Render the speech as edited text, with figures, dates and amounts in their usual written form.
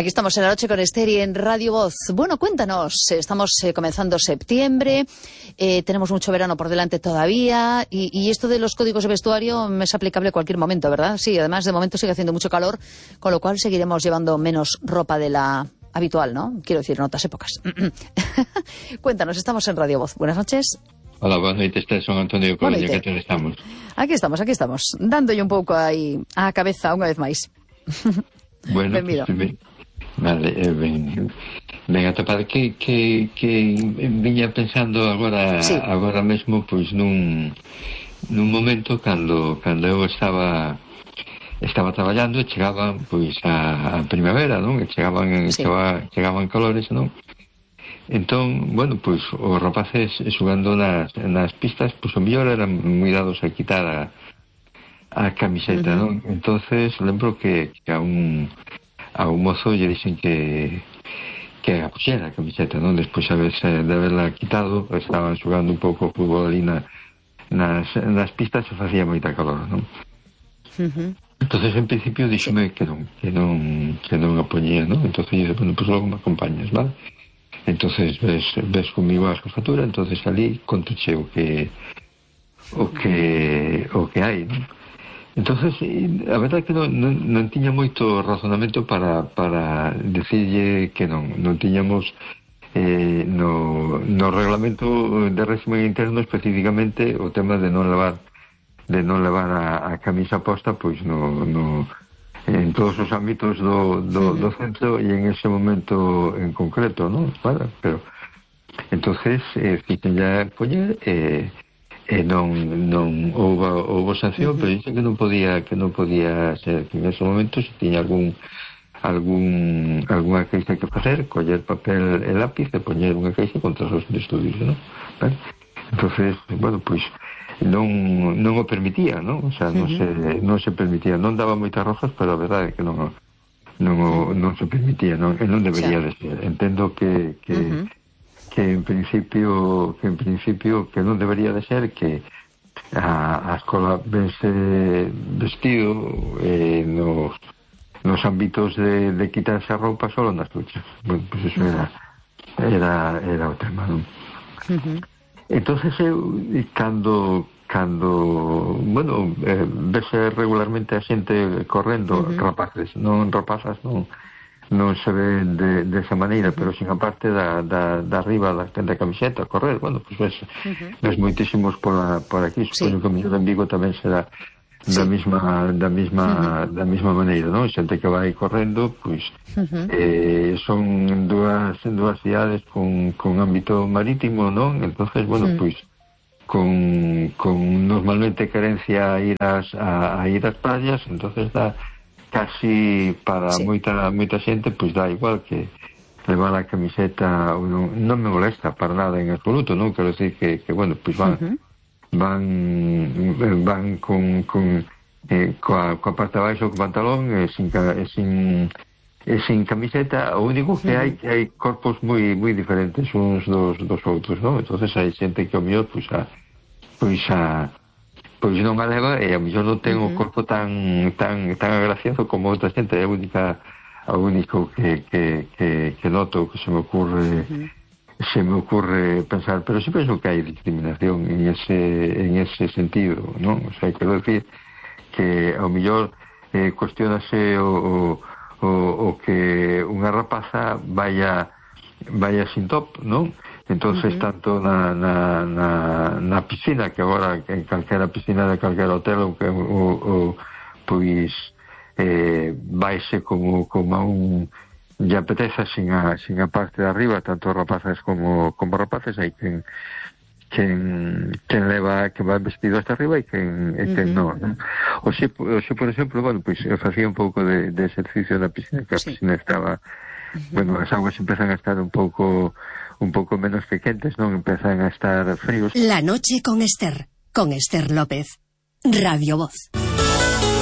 Aquí estamos en la noche con Esther y en Radio Voz. Bueno, cuéntanos, estamos comenzando septiembre, tenemos mucho verano por delante todavía y esto de los códigos de vestuario es aplicable a cualquier momento, ¿verdad? Sí, además de momento sigue haciendo mucho calor, con lo cual seguiremos llevando menos ropa de la habitual, ¿no? Quiero decir, en otras épocas. Cuéntanos, estamos en Radio Voz. Buenas noches. Hola, buenas noches, Esther, son Antonio Coruña, ¿qué tal estamos? Aquí estamos, dándolle un pouco aí á cabeza unha vez máis. Bueno, benvido. Pues, vale, ben atopado que viña pensando agora sí. Agora mesmo, pois nun momento cando eu estaba traballando e chegaban pois a primavera, non? E chegaban calores, non? Entón, bueno, pois os rapaces xogando nas pistas, pois o mellor eran moi dados a quitar a camiseta, non? Entonces lembro que a un mozo lle dixen que a puxera a camiseta, non? Despois de haberla quitado, estaban xogando un pouco o fútbol ali nas pistas e facía moita calor, non? Entonces en principio díxome que non a poñía, non? Entonces dice, bueno, pues logo me acompañas, vale? Entonces ves comigo a jefatura, entonces ali contuche o que hai, non? Entonces a verdade é que non tiña moito razonamento para decirlle que non tiñamos no reglamento de régimen interno especificamente o tema de non levar a camisa posta, pois no en todos os ámbitos do centro e en ese momento en concreto, non? Vale, pero entonces fixen ya poñer non houve sanción, pero dicen que non podía ser que en ese momento se tiña algunha queixa que facer, coller papel e lápiz e poñer unha queixa contra os de estudios, non? Vale? Entonces, bueno, pois non o permitía, non? O sea, non se permitía, non daba moitas rozas, pero a verdade é que non se permitía, non? E non debería de ser. Entendo que en principio que non debería de ser, que a escola vense vestido nos ámbitos de quitarse a roupa solo nas duchas. Bueno, pues eso era o tema, non? Entonces eu cando bueno, vese regularmente a xente correndo, rapaces, non rapazas, non se ve desa maneira, pero sin a parte da arriba da camiseta correr, bueno, pues ves moitísimos por aquí, supoño que o mellor en Vigo tamén será da mesma maneira, non? Xente que vai correndo, pois son en dúas cidades con ámbito marítimo, non? Entonces, bueno, pois con normalmente querencia a ir ás playas, entonces dá casi para moita xente, pois dá igual que levar a camiseta, non me molesta para nada en absoluto, non? Quero decir que bueno, pois van coa parte de baixo, co pantalón sin camiseta. O único que hai corpos moi diferentes uns dos outros, non? Entonces hai xente que o mellor pois non a leva e a mellor non ten o corpo tan agraciado como outra xente. É o único que noto, que se me ocurre pensar, pero sí penso que hai discriminación en ese sentido, non? O sea, quero decir que ao mellor cuestionase o que unha rapaza vaya sin top, non? Entonces tanto na piscina, que agora en calquera piscina de calquera hotel pois vaise como a un lle apeteza sin a parte de arriba, tanto rapazas como rapaces. Hai quen leva, que va vestido hasta arriba e quen non? O xe, por exemplo, bueno, pois eu facía un pouco de exercicio na piscina, que a piscina estaba, bueno, as aguas empezan a estar un pouco menos que quentes, non? Empezan a estar fríos. La noche con Esther López, Radio Voz.